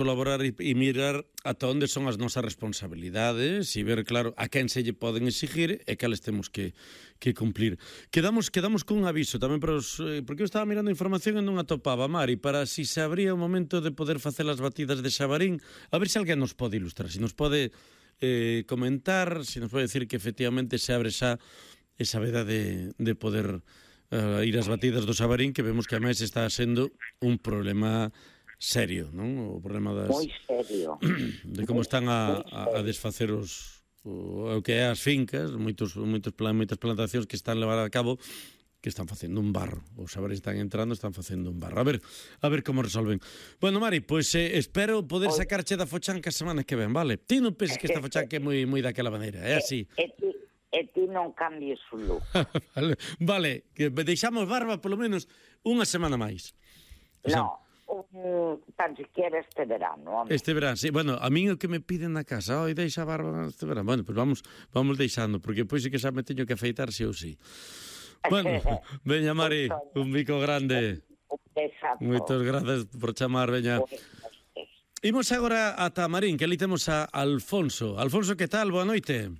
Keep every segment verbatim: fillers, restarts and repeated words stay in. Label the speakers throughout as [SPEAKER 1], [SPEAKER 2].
[SPEAKER 1] colaborar e, e mirar ata onde son as nosas responsabilidades e ver, claro, a quen se lle poden exigir e cales temos que, que cumplir. Quedamos quedamos cun aviso tamén para os, eh, porque eu estaba mirando información e non atopaba, Mari, para si se abría o momento de poder facer as batidas de Xabarín, a ver se alguén nos pode ilustrar, se nos pode eh, comentar, se nos pode decir que efectivamente se abre xa esa veda de, de poder uh, ir ás batidas do Xabarín, que vemos que a máis está sendo un problema serio, non? O problema das...
[SPEAKER 2] Moi serio.
[SPEAKER 1] De como están a, a, a desfacer os... O, o que é as fincas, moitos, moitos plan, moitas plantacións que están levar a cabo que están facendo un barro. Os Xabarín están entrando, están facendo un barro. A ver, a ver como resolven. Bueno, Mari, pois pues, eh, espero poder sacarche da fochanca a semana que ven, vale? Ti non penses que esta fochanca é moi, moi daquela maneira, é así?
[SPEAKER 2] E, e, ti, e ti non cambies o look.
[SPEAKER 1] vale, vale, que deixamos barba polo menos unha semana máis. O sea,
[SPEAKER 2] no. Um, tan siquiera este verano, hombre.
[SPEAKER 1] Este verano, sí. Bueno, a mí o que me piden na casa, oi, deixa a barba este verano. Bueno, pues vamos vamos deixando, porque depois sí que xa me teño que afeitar si ou si. Bueno, veña, Mari, un bico grande.
[SPEAKER 2] Exacto.
[SPEAKER 1] Moitas grazas por chamar, veña. Imos agora ata Marín, que ali temos a Alfonso. Alfonso, que tal? Boa noite.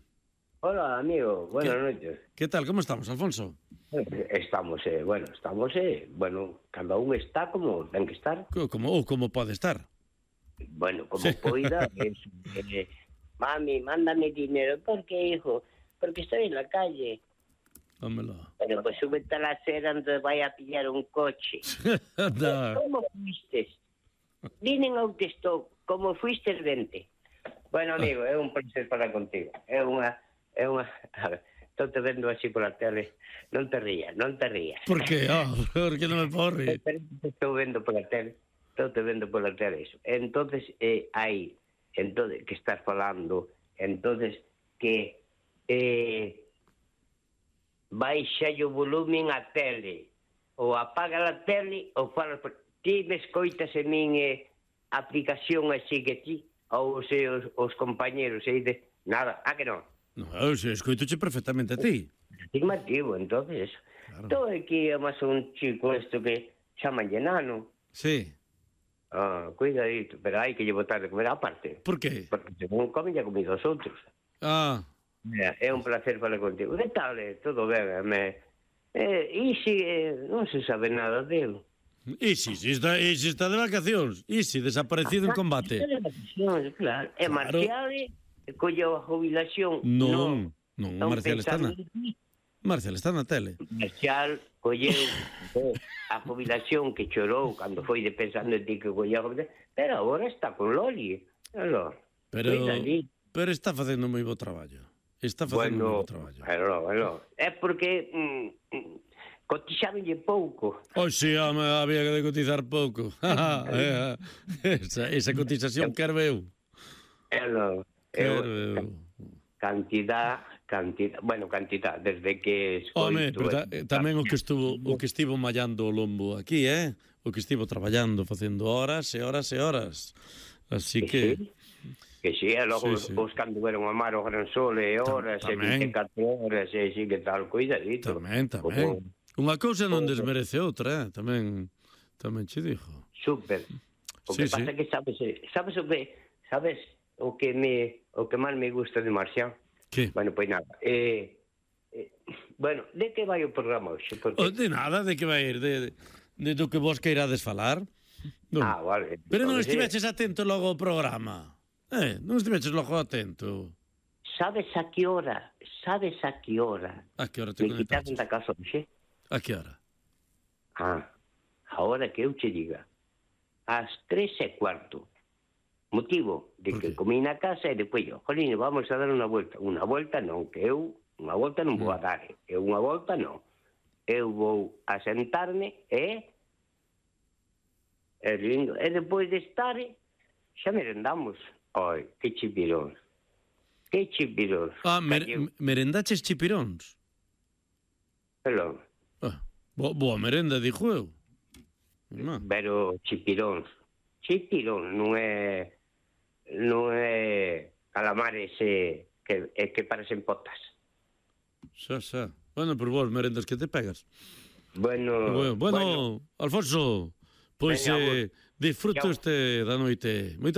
[SPEAKER 3] Hola, amigo. Buenas noches.
[SPEAKER 1] Que tal? Como estamos, Alfonso?
[SPEAKER 3] Estamos, eh, bueno, estamos, eh, bueno, cada un está como ten que estar.
[SPEAKER 1] Como, ou como pode estar.
[SPEAKER 3] Bueno, como sí. Poida, es, eh, mami, mándame dinero. ¿Por qué, hijo? Porque estoy en la calle.
[SPEAKER 1] Dámelo.
[SPEAKER 3] Bueno, pues súbete a la acera donde vaya a pillar un coche.
[SPEAKER 1] no.
[SPEAKER 3] ¿Cómo fuiste? Dinen autostop, como fuiste el vente. Bueno, amigo, é un placer falar contigo. É unha, é unha, a ver, estou te vendo así pola tele, non te rías, non te rías.
[SPEAKER 1] Por que? Oh, por que non me podo rir?
[SPEAKER 3] Estou vendo pola tele, estou te vendo pola tele eso. Entonces, eh, aí, entonces, que estás falando, entonces, que eh, baixa o volumen a tele, ou apaga a tele, ou fala, ti me escoitas en min eh, aplicación así que ti, ou se os, os compañeros, e de nada, ah que non?
[SPEAKER 1] No, se escoitoche perfectamente a ti.
[SPEAKER 3] Estigmativo, entonces. Claro. Todo aquí é máis un chico esto que chaman llenano.
[SPEAKER 1] Sí.
[SPEAKER 3] Ah, cuidadito, pero hai que lle botar de comer aparte.
[SPEAKER 1] Por qué?
[SPEAKER 3] Porque según comen ya comido os outros.
[SPEAKER 1] Ah.
[SPEAKER 3] Mira, é un placer falar contigo. Que tal? Eh? Todo ben, me... Eh, e si eh, non se sabe nada dele.
[SPEAKER 1] E si, si está, e si está de vacacións. E si, desaparecido en combate.
[SPEAKER 3] Está de vacacións, claro. E claro. Marcial colleu a jubilación.
[SPEAKER 1] Non, non, non Marcial está na... Marcial está na tele.
[SPEAKER 3] Marcial colleu a jubilación que chorou cando foi de pensando en ti que colleu a jubilación, pero agora está con Loli. Pero,
[SPEAKER 1] pero, pero está facendo moi bo traballo. Está facendo bueno, moi bo traballo.
[SPEAKER 3] Pero, bueno, é porque... Mm, cotixaronlle pouco.
[SPEAKER 1] Oh, si, home, había que de cotizar pouco. esa, esa cotización quero eu.
[SPEAKER 3] Quero eu. Cantidad, cantidad, bueno, cantidad, desde que...
[SPEAKER 1] Home, pero ta, tamén o que estuvo o que estivo mallando o lombo aquí, eh? O que estivo traballando, facendo horas e horas e horas. Así que...
[SPEAKER 3] Sí. Que si, e logo sí, sí. Os cando veron a mar o gran sol e horas, e vinte e catro horas, e si que tal, cuidadito.
[SPEAKER 1] Tamén, tamén. Como... Unha cousa non desmerece outra, eh? Tamén tamén che dixo.
[SPEAKER 3] Súper. O sí, que pasa sí. Que sabes, sabes o que sabes o que me o que máis me gusta de Marcial?
[SPEAKER 1] Que?
[SPEAKER 3] Bueno, pois nada. Eh, eh, bueno, de que vai o programa hoxe? Porque...
[SPEAKER 1] Oh, de nada, de que vai ir, de, de, de do que vos queirades falar. Non.
[SPEAKER 3] Ah, vale.
[SPEAKER 1] Pero non estiveches atento logo ao programa. Eh, non estiveches logo atento.
[SPEAKER 3] Sabes a que hora? Sabes a que hora?
[SPEAKER 1] A que hora te conectaches?
[SPEAKER 3] Me quitaron da casa hoxe?
[SPEAKER 1] A que hora?
[SPEAKER 3] Ah, a hora que eu che diga. Ás tres e cuarto. Motivo de que comí na casa e depois yo, jolín, vamos a dar unha volta. Unha volta non, que eu unha volta non vou a dar. Eu unha volta non. Eu vou a sentarme e é lindo. E depois de estar xa merendamos. Ai, que chipiróns. Que chipiróns.
[SPEAKER 1] Ah, mer merendaches chipiróns?
[SPEAKER 3] Perdón.
[SPEAKER 1] Ah, boa, boa merenda, dixo eu.
[SPEAKER 3] No. Pero chipiróns. Chipirón non é non é calamares eh, que, é que parecen potas.
[SPEAKER 1] Xa, xa. Bueno, por vos merendas que te pegas.
[SPEAKER 3] Bueno,
[SPEAKER 1] bueno, bueno, bueno. Alfonso, pois pues, eh, disfruto este da noite. Moita